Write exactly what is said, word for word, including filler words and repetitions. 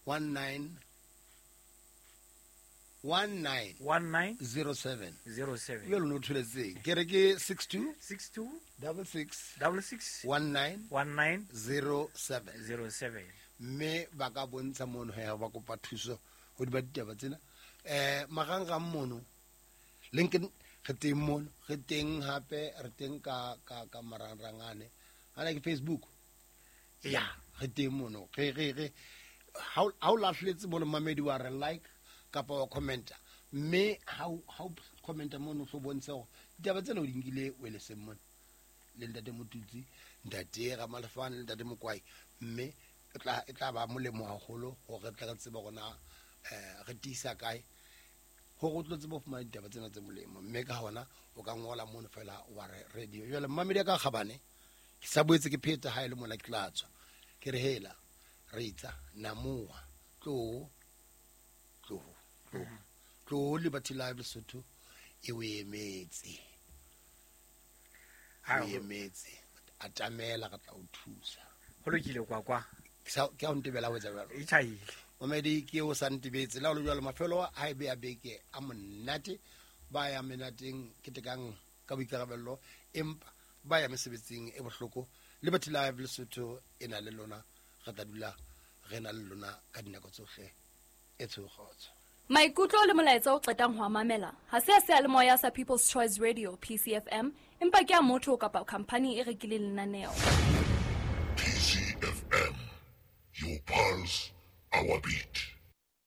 one nine one nine one nine zero seven zero seven jalo no tholetseng ke re ke six two six two double six double six one nine one nine zero seven zero seven mme ba ka bontsha mono ya ba kopa thuso go di ba ditaba tsena um magangang mono linkedin re teng mono re teng hape re teng ka ka ka marangrang ane ana ke facebook ya re teng mono re re re ha o lahletse mono mamedi wa re like kapa wa commenta mme ha o ha o commenta mono o bontsha hore ditaba tsena o di nkile o le seng mono le ntate Motutsi ntate Ramalefane le ntate Mokwai mme e tla e tla ba molemo haholo hore re tla re tseba hore na eh re tiisa kae hore o tlo tseba ho fumana ditaba tsena tse molemo mme ka hona o ka ngola mono fela wa re radio jwale mmamedi ya ka kgabane ke sa boetse ke pheta ha e le mona ke tla tswa ke re hela re itsa namoha tlo tlo tlo tlo Liberty Live Lesotho e o emetse Ha o emetse atamela re tla o thusa ho lokile kwa kwa ke a o ntebela ho etsa jwalo e tjhaile mamedi ke o sa ntebetse la ho le jwalo mafelo a e be a beke a monate ba ya menateng ke tekang ka boikarabello empa ba ya mesebetsing e bohloko Liberty Live Lesotho e na le lona re tla dula re na le lona ka dinako tsohle e tshogotso Maikutlo le molaetsa o qetang ho a mamela ha se a seyalemoya sa People's Choice Radio P C F M empa ke a motho kapa khampani e rekileng lenaneo. P C F M, your pulse, our beat.